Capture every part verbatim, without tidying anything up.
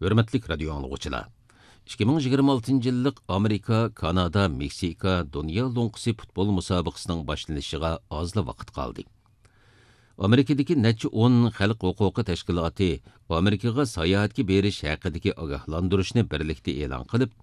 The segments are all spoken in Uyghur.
ھۆرمەتلىك رادىيو ئاڭلىغۇچىلار! ئىككى مىڭ يىگىرمە ئالتىنچى يىللىق ئامېرىكا، كانادا، مېكسىكا دۇنيا لوڭقىسى پۇتبول مۇسابىقىسىنىڭ باشلىنىشىغا ئازلا ۋاقىت قالدى. ئامېرىكىدىكى نەچچە ئون خەلق ھوقۇقى تەشكىلاتى ئامېرىكىغا ساياھەتكە بېرىش ھەققىدىكى ئاگاھلاندۇرۇشنى بىرلىكتە ئېلان قىلىپ،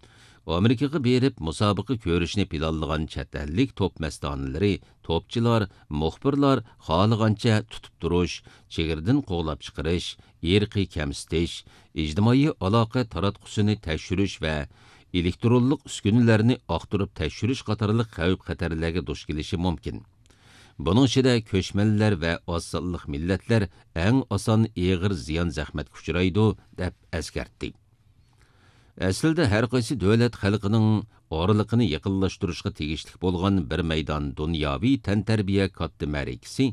ئامېرىكىغا بېرىپ مۇسابىقە كۆرۈشنى پىلانلىغان چەت ئەللىك توپ مەستانىلىرى، توپچىلار، مۇخبىرلار خالىغانچە تۇتۇپ تۇرۇش، چېگرىدىن قوغلاپ چىقىرىش، ئىرقىي كەمسىتىش، ئىجتىمائىي ئالاقە تاراتقۇسىنى تەكشۈرۈش ۋە ئېلېكترونلۇق ئۈسكۈنىلەرنى ئاختۇرۇپ تەكشۈرۈش قاتارلىق خەۋپ-خەتەرلەرگە دۇچ كېلىشى مۇمكىن. بۇنىڭ ئىچىدە كۆچمەنلەر ۋە ئاز سانلىق مىللەتلەر ئەڭ ئاسان ئېغىر زىيان-زەخمەتكە ئۇچرايدۇ، دەپ ئەسكەرتتى. ئەسلىدە ھەر قايسى دۆلەت خەلقىنىڭ ئارىلىقىنى يېقىنلاشتۇرۇشقا تېگىشلىك بولغان بىر مەيدان دۇنياۋى تەنتەربىيە كاتتا مەرىكىسى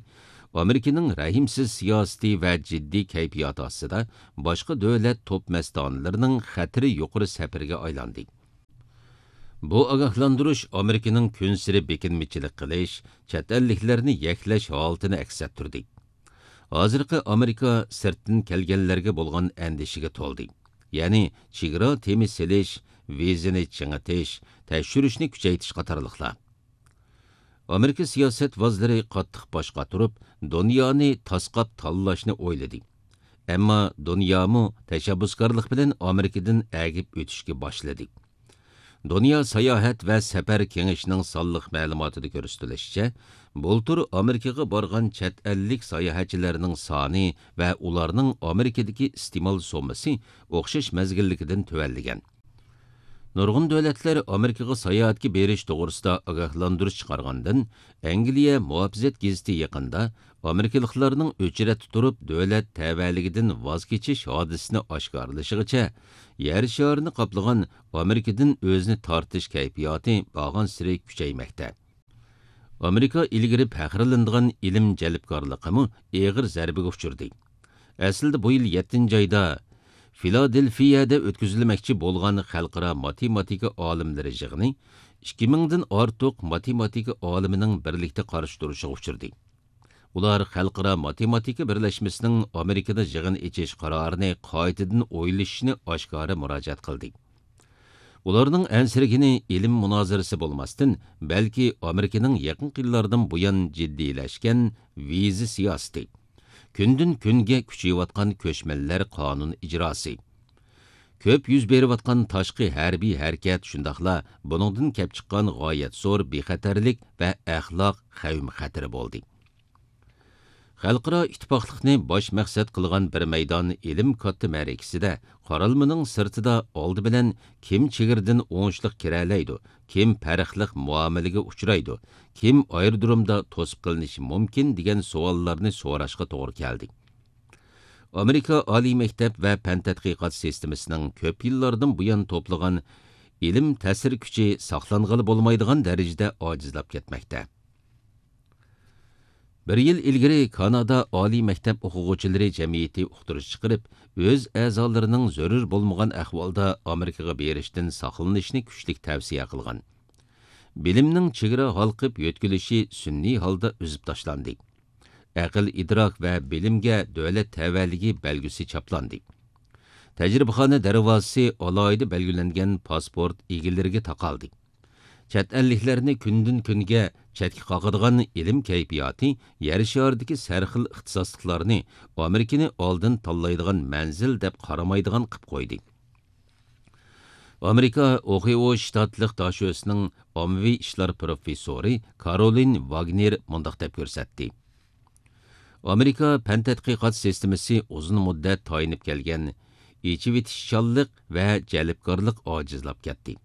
ئامېرىكىنىڭ رەھىمسىز سىياسىتى ۋە جىددىي كەيپىياتى ئاستىدا باشقا دۆلەت توپ مەستانىلىرىنىڭ خەتىرى يۇقىرى سەپىرىگە ئايلاندى. بۇ ئاگاھلاندۇرۇش ئامېرىكىنىڭ كۈنسېرى بېكىنمىچىلىك قىلىش، چەت ئەللىكلەرنى يەكلەش ھالىتىنى ئەكس ئەتتۈردى. ھازىرقى ئامېرىكا سىرتتىن كەلگەنلەرگە بولغان ئەندىشىگە تولدى. يەنى چېگرا تېمى سېلىش، ۋىزىنى چىڭىتىش، تەكشۈرۈشنى كۈچەيتىش قاتارلىقلار. ئامېرىكا سىياسەتۋازلىرى قاتتىق باش قاتۇرۇپ، دۇنيانى تاسقاپ تاللاشنى ئويلىدى. ئەمما دۇنيامۇ تەشەببۇسكارلىق بىلەن ئامېرىكىدىن ئەگىپ ئۆتۈشكە باشلىدى. دۇنيا ساياھەت ۋە سەپەر كېڭىشىنىڭ سانلىق مەلۇماتىدا كۆرسىتىلىشىچە، بۇلتۇر ئامېرىكىغا بارغان چەت ئەللىك ساياھەتچىلەرنىڭ سانى ۋە ئۇلارنىڭ ئامېرىكىدىكى ئىستېمال سوممىسى ئوخشاش مەزگىلدىكىدىن تۆۋەنلىگەن. نۇرغۇن دۆلەتلەر ئامېرىكىغا ساياھەتكە بېرىش توغرىسىدا ئاگاھلاندۇرۇش چىقارغاندىن، ئەنگلىيە مۇھاپىزەت گېزىتى يېقىندا ئامېرىكىلىقلارنىڭ ئۆچرەتتە تۇرۇپ دۆلەت تەۋەلىكىدىن ۋاز كېچىش ھادىسىسىنى ئاشكارىلىشىغىچە، يەر شارىنى قاپلىغان ئامېرىكىدىن ئۆزىنى تارتىش كەيپىياتى بارغانسېرى كۈچەيمەكتە. ئامېرىكا ئىلگىرى پەخىرلىنىدىغان ئىلىم جەلپكارلىقىمۇ ئېغىر زەربىگە ئۇچرىدى. ئەسلىدە بۇ يىل يەتتىنچى ئايدا فىلادېلفىيەدە ئۆتكۈزۈلمەكچى بولغان خەلقئارا ماتېماتىكا ئالىملىرى يىغىنى ئىككى مىڭدىن ئارتۇق ماتېماتىكا ئالىمىنىڭ بىرلىكتە قارشى تۇرۇشىغا ئۇچرىدى. ئۇلار خەلقئارا ماتېماتىكا بىرلەشمىسىنىڭ ئامېرىكىدا يىغىن ئېچىش قارارىنى قايتىدىن ئويلىشىشنى ئاشكارا مۇراجىئەت قىلدى. ئۇلارنىڭ ئەنسىرىگىنى ئىلىم مۇنازىرىسى بولماستىن، بەلكى ئامېرىكىنىڭ يېقىنقى يىللاردىن بۇيان جىددىيلەشكەن ۋىزا سىياسىتى، كۈندىن كۈنگە كۈچىيىۋاتقان كۆچمەنلەر قانۇن ئىجراسى، كۆپ يۈز بېرىۋاتقان تاشقى ھەربىي ھەرىكەت، شۇنداقلا بۇنىڭدىن كەپ چىققان غايەت زور بىخەتەرلىك ۋە ئەخلاق خەۋپ-خەتىرى بولدى. خەلقئارا ئىتتىپاقلىقنى باش مەقسەت قىلغان بىر مەيدان ئىلىم كاتتا مەرىكىسىدە قارالمىنىڭ سىرتىدا ئالدى بىلەن كىم چېگرىدىن ئوڭۇشلۇق كىرەلەيدۇ، كىم پەرقلىق مۇئامىلىگە ئۇچرايدۇ، كىم ئايرودرومدا توسۇپ قېلىنىشى مۇمكىن دېگەن سوئاللارنى سوراشقا توغرا كەلدى. ئامېرىكا ئالىي مەكتەپ ۋە پەن تەتقىقات سىستېمىسىنىڭ كۆپ يىللاردىن بۇيان توپلىغان ئىلىم تەسىر كۈچى ساقلانغىلى بولمايدىغان دەرىجىدە ئاجىزلاپ كەتمەكتە. بىر يىل ئىلگىرى كانادا ئالىي مەكتەپ ئوقۇغۇچىلىرى جەمئىيىتى ئۇقتۇرۇش چىقىرىپ، ئۆز ئەزالىرىنىڭ زۆرۈر بولمىغان ئەھۋالدا ئامېرىكىغا بېرىشتىن ساقلىنىشنى كۈچلۈك تەۋسىيە قىلغان. بىلىمنىڭ چېگرا ھالقىپ يۆتكىلىشى سۈنئىي ھالدا ئۈزۈپ تاشلاندى. ئەقىل-ئىدراك ۋە بىلىمگە دۆلەت تەۋەلىكى بەلگىسى چاپلاندى. تەجرىبىخانا دەرۋازىسى ئالاھىدە بەلگىلەنگەن پاسپورت ئىگىلىرىگە تاقالدى. چەت ئەللىكلەرنى كۈندىن-كۈنگە چەتكە قاقىدىغان ئىلىم كەيپىياتى يەر شارىدىكى سەرخىل ئىختىساسلىقلارنى ئامېرىكىنى ئالدىن تاللايدىغان مەنزىل دەپ قارىمايدىغان قىپ قويدى. ئامېرىكا ئوھىئو شتاتلىق داشۆسىنىڭ ئاممىۋى ئىشلار پروفېسسورى كارولىن ۋاگنېر مۇنداق دەپ كۆرسەتتى: ئامېرىكا پەن تەتقىقات سىستېمىسى ئۇزۇن مۇددەت تايىنىپ كەلگەن ئېچىۋېتىشچانلىق ۋە جەلپكارلىق ئاجىزلاپ كەتتى.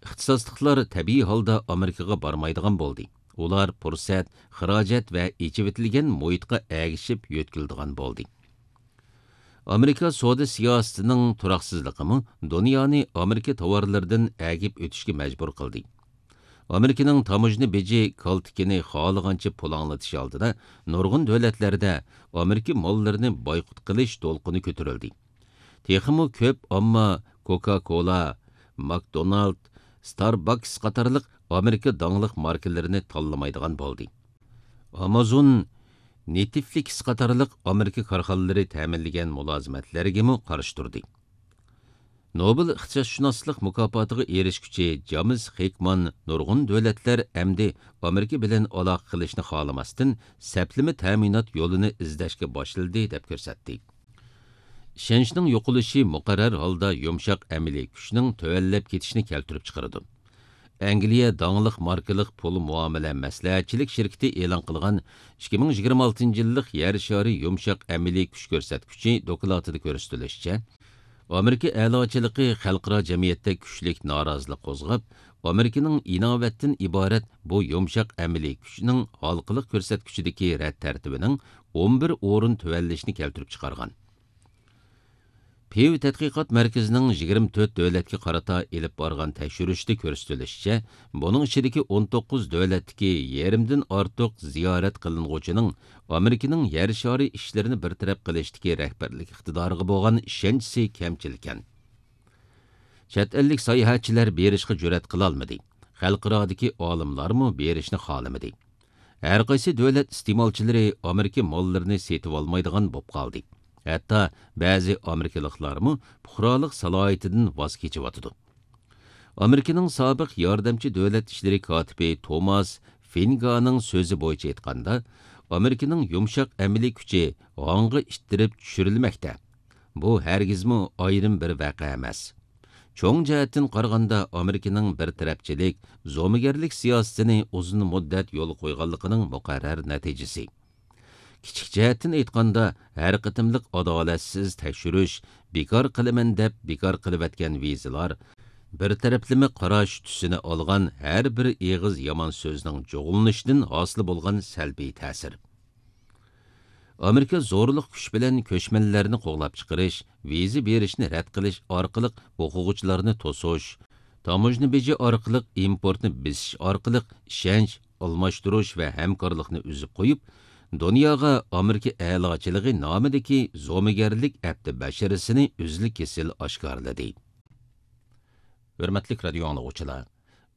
ئىختىساسلىقلار تەبىئىي ھالدا ئامېرىكىغا بارمايدىغان بولدى. ئۇلار پۇرسەت، خىراجەت ۋە ئېچىۋېتىلگەن مۇھىتقا ئەگىشىپ يۆتكىلىدىغان بولدى. ئامېرىكا سودا سىياسىتىنىڭ تۇراقسىزلىقىمۇ دۇنيانى ئامېرىكا تاۋارلىرىدىن ئەگىپ ئۆتۈشكە مەجبۇر قىلدى. ئامېرىكىنىڭ تاموژنا بېجى كالتىكىنى خالىغانچە پۇلاڭلىتىش ئالدىدا نۇرغۇن دۆلەتلەردە ئامېرىكا ماللىرىنى بايقۇت قىلىش دولقۇنى كۆتۈرۈلدى. تېخىمۇ كۆپ ئامما كوكا كولا، ماكدونالد، ستارباكس قاتارلىق ئامېرىكا داڭلىق ماركىلىرىنى تاللىمايدىغان بولدى. ئامازون، نېتفلىكس قاتارلىق ئامېرىكا كارخانىلىرى تەمىنلىگەن مۇلازىمەتلەرگىمۇ قارشى تۇردى. نوبېل ئىقتىسادشۇناسلىق مۇكاپاتىغا ئېرىشكۈچى جامېس خېكمان نۇرغۇن دۆلەتلەر ئەمدى ئامېرىكا بىلەن ئالاقە قىلىشنى خالىماستىن، سەپلىمە تەمىنات يولىنى ئىزدەشكە باشلىدى، دەپ كۆرسەتتى. ئىشەنچنىڭ يوقىلىشى مۇقەررەر ھالدا يۇمشاق ئەمەلىي كۈچنىڭ تۆۋەنلەپ كېتىشىنى كەلتۈرۈپ چىقىرىدۇ. ئەنگلىيە داڭلىق ماركىلىق پۇل مۇئامىلە مەسلىھەتچىلىك شىركىتى ئېلان قىلغان ئىككى مىڭ يىگىرمە ئالتىنچى يىللىق يەر شارى يۇمشاق ئەمەلىي كۈچ كۆرسەتكۈچى دوكلاتىدا كۆرسىتىلىشىچە، ئامېرىكا ئەلىچىلىكى خەلقئارا جەمئىيەتتە كۈچلۈك نارازىلىق قوزغاپ، ئامېرىكىنىڭ ئىناۋەتتىن ئىبارەت بۇ يۇمشاق ئەمەلىي كۈچنىڭ ھالقىلىق كۆرسەتكۈچىدىكى رەت تەرتىپىنىڭ ئون بىر ئورۇن تۆۋەنلىشىنى كەلتۈرۈپ چىقارغان. پىۋ تەتقىقات مەركىزىنىڭ يىگىرمە تۆت دۆلەتكە قارىتا ئېلىپ بارغان تەكشۈرۈشىدە كۆرسىتىلىشىچە، بۇنىڭ ئىچىدىكى ئون توققۇز دۆلەتتىكى يېرىمدىن ئارتۇق زىيارەت قىلىنغۇچىنىڭ ئامېرىكىنىڭ يەر شارى ئىشلىرىنى بىر تەرەپ قىلىشتىكى رەھبەرلىك ئىقتىدارىغا بولغان ئىشەنچىسى كەمچىلكەن. چەت ئەللىك ساياھەتچىلەر بېرىشقا جۈرئەت قىلالمىدى. خەلقئارادىكى ئالىملارمۇ بېرىشنى خالىمىدى. ھەرقايسى دۆلەت ئىستېمالچىلىرى ئامېرىكا ماللىرىنى سېتىۋالمايدىغان بولۇپ قالدى. ھەتتا بەزى ئامېرىكىلىقلارمۇ پۇقرالىق سالاھىيىتىدىن ۋاز كېچىۋاتىدۇ. ئامېرىكىنىڭ سابىق ياردەمچى دۆلەت ئىشلىرى كاتىپى توماس فىنگانىڭ سۆزى بويىچە ئېيتقاندا، ئامېرىكىنىڭ يۇمشاق ئەمەلىي كۈچى ھاڭغا ئىتتىرىپ چۈشۈرۈلمەكتە. بۇ ھەرگىزمۇ ئايرىم بىر ۋەقە ئەمەس. چوڭ جەھەتتىن قارىغاندا، ئامېرىكىنىڭ بىر تەرەپچىلىك، زومىگەرلىك سىياسىتىنى ئۇزۇن مۇددەت يولغا قويغانلىقىنىڭ مۇقەررەر نەتىجىسى. كىچىك جەھەتتىن ئېيتقاندا، ھەر قېتىملىق ئادالەتسىز تەكشۈرۈش، بىكار قىلىمەن دەپ بىكار قىلىۋەتكەن ۋىزىلار، بىر تەرەپلىمە قاراش تۈسىنى ئالغان ھەر بىر ئېغىز يامان سۆزنىڭ جۇغلىنىشىدىن ھاسىل بولغان سەلبىي تەسىر. ئامېرىكا زورلۇق كۈچ بىلەن كۆچمەنلەرنى قوغلاپ چىقىرىش، ۋىزا بېرىشنى رەت قىلىش ئارقىلىق ئوقۇغۇچىلارنى توسۇش، تاموژنا بېجى ئارقىلىق ئىمپورتنى بېسىش ئارقىلىق ئىشەنچ ئالماشتۇرۇش ۋە ھەمكارلىقنى ئۈزۈپ قويۇپ، دۇنياغا ئامېرىكا ئەلاچىلىقى نامىدىكى زومىگەرلىك ئەپتى بەشىرىسىنى ئۈزۈل-كېسىل ئاشكارىلىدى. ھۆرمەتلىك رادىيو ئاڭلىغۇچىلار،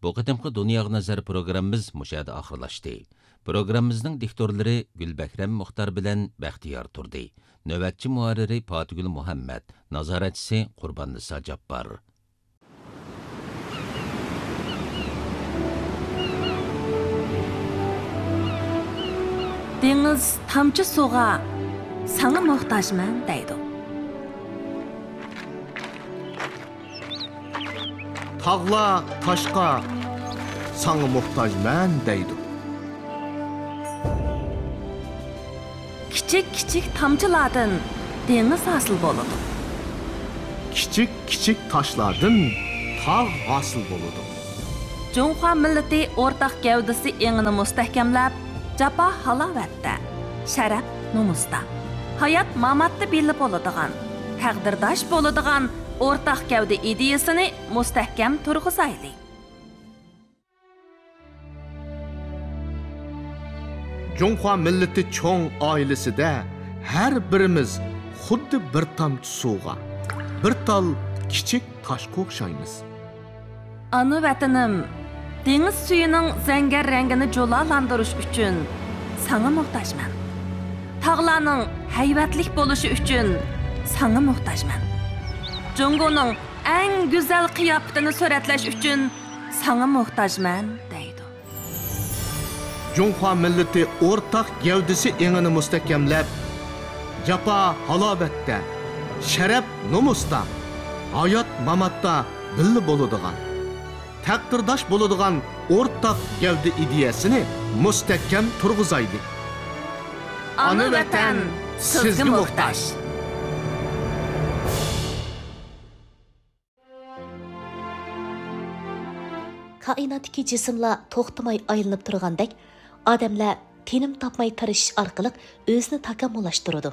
بۇ قېتىمقى دۇنياغا نەزەر پروگراممىمىز مۇشۇ يەردە ئاخىرلاشتى. پروگراممىمىزنىڭ دىكتورلىرى گۈلبەھرەم مۇختار بىلەن بەختىيار تۇردى. نۆۋەتچى مۇھەررىرى پاتىگۈل مۇھەممەد، نازارەتچىسى قۇرباننىسا جاپپار. دېڭىز تامچە سۇغا، ساڭا موھتاجمەن دەيدۇ. تاغلار تاشقا، ساڭا موھتاجمەن دەيدۇ. كىچىك كىچىك تامچىلاردىن دېڭىز ھاسىل بولىدۇ. كىچىك كىچىك تاشلاردىن تاغ ھاسىل بولىدۇ. جۇڭخۇا مىللىتى ئورتاق گەۋدىسى ئېڭىنى مۇستەھكەملەپ، جاپا ھالاۋەتتە، شەرەپ نومۇستا، ھايات ماماتتا بىللە بولىدىغان، تەقدىرداش بولىدىغان ئورتاق گەۋدە ئىدىيىسىنى مۇستەھكەم تۇرغۇزايلى. جۇڭخۇا مىللىتى چوڭ ئائىلىسىدە ھەر بىرىمىز خۇددى بىر تامچە سۇغا، بىر تال كىچىك تاشقا ئوخشايمىز. ئانا ۋەتىنىم، دېڭىز سۈيىنىڭ زەڭگەر رەڭگىنى جۇلالاندۇرۇش ئۈچۈن ساڭا موھتاجمەن. تاغلارنىڭ ھەيۋەتلىك بولۇشى ئۈچۈن ساڭا موھتاجمەن. جۇڭگونىڭ ئەڭ گۈزەل قىياپىتىنى سۈرەتلەش ئۈچۈن ساڭا موھتاجمەن، دەيدۇ. جۇڭخۇا مىللىتى ئورتاق گەۋدىسى ئېڭىنى مۇستەھكەملەپ، جاپا ھالاۋەتتە، شەرەپ نومۇستا، ھايات ماماتتا بىللە بولىدىغان، تەقدىرداش بولىدىغان ئورتاق گەۋدە ئىدىيەسىنى مۇستەھكەم تۇرغۇزايلى. ئانا ۋەتەن سىزگە موھتاج. كائىناتتىكى جىسىملار توختىماي ئايلىنىپ تۇرغاندەك، ئادەملەر تىنىم تاپماي تىرىشىش ئارقىلىق ئۆزىنى تاكامۇللاشتۇرىدۇ.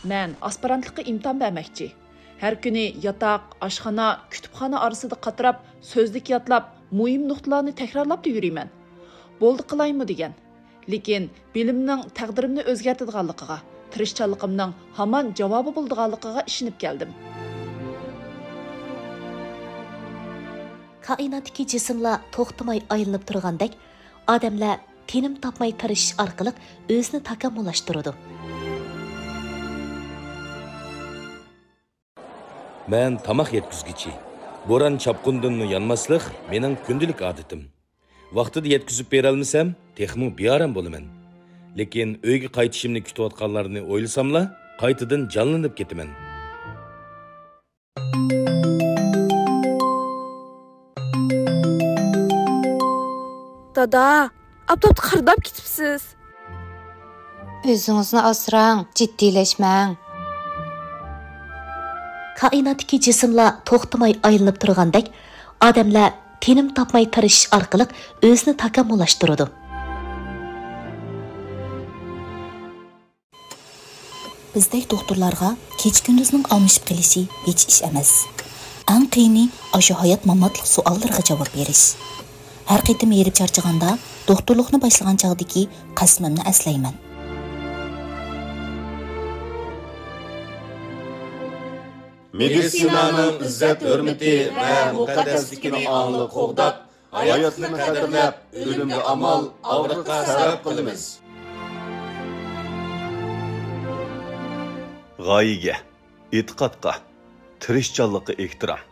مەن ئاسپىرانتلىققا ئىمتىھان بەرمەكچى. ھەر كۈنى ياتاق، ئاشخانا، كۇتۇپخانا ئارىسىدا قاتراپ، سۆزلۈك يادلاپ، مۇھىم نۇقتىلارنى تەكرارلاپلا يۈرىمەن. بولدى قىلايمۇ دېگەن. لېكىن بىلىمنىڭ تەقدىرىمنى ئۆزگەرتىدىغانلىقىغا، تىرىشچانلىقىمنىڭ ھامان جاۋابى بولىدىغانلىقىغا ئىشىنىپ كەلدىم. كائىناتتىكى جىسىملار توختىماي ئايلىنىپ تۇرغاندەك، ئادەملەر تىنىم تاپماي تىرىشىش ئارقىلىق ئۆزىنى تاكامۇللاشتۇرىدۇ. مەن تاماق يەتكۈزگۈچى. بوران-چاپقۇندىنمۇ يانماسلىق مېنىڭ كۈندىلىك ئادىتىم. ۋاقتىدا يەتكۈزۈپ بېرەلمىسەم، تېخىمۇ بىئارام بولىمەن. لېكىن ئۆيگە قايتىشىمنى كۈتۈۋاتقانلارنى ئويلىساملا، قايتىدىن جانلىنىپ كېتىمەن. دادا، ئاپتاپتا قارىداپ كېتىپسىز. ئۆزىڭىزنى ئاسراڭ، جىددىيلەشمەڭ. كائىناتتىكى جىسىملار توختىماي ئايلىنىپ تۇرغاندەك، ئادەملەر تىنىم تاپماي تىرىشىش ئارقىلىق ئۆزىنى تاكامۇللاشتۇرىدۇ. بىزدەك دوختۇرلارغا كېچە-كۈندۈزنىڭ ئالمىشىپ قېلىشى ھېچ ئىش ئەمەس. ئەڭ قىيىنى ئاشۇ ھايات-ماماتلىق سوئاللىرىغا جاۋاب بېرىش. ھەر قېتىم ھېرىپ چارچىغاندا، دوختۇرلۇقنى باشلىغان چاغدىكى قەسىمىمنى ئەسلەيمەن. مېدىتسىنانىڭ ئىززەت-ھۆرمىتى ۋە مۇقەددەسلىكىنى ئاڭلىق قوغداپ، ھاياتلىقنى قەدىرلەپ، ئۆلۈمگە ئامال، ئاغرىققا سەۋەب قىلىمىز. غايىگە، ئېتىقادقا، تىرىشچانلىققا ئېھتىرام.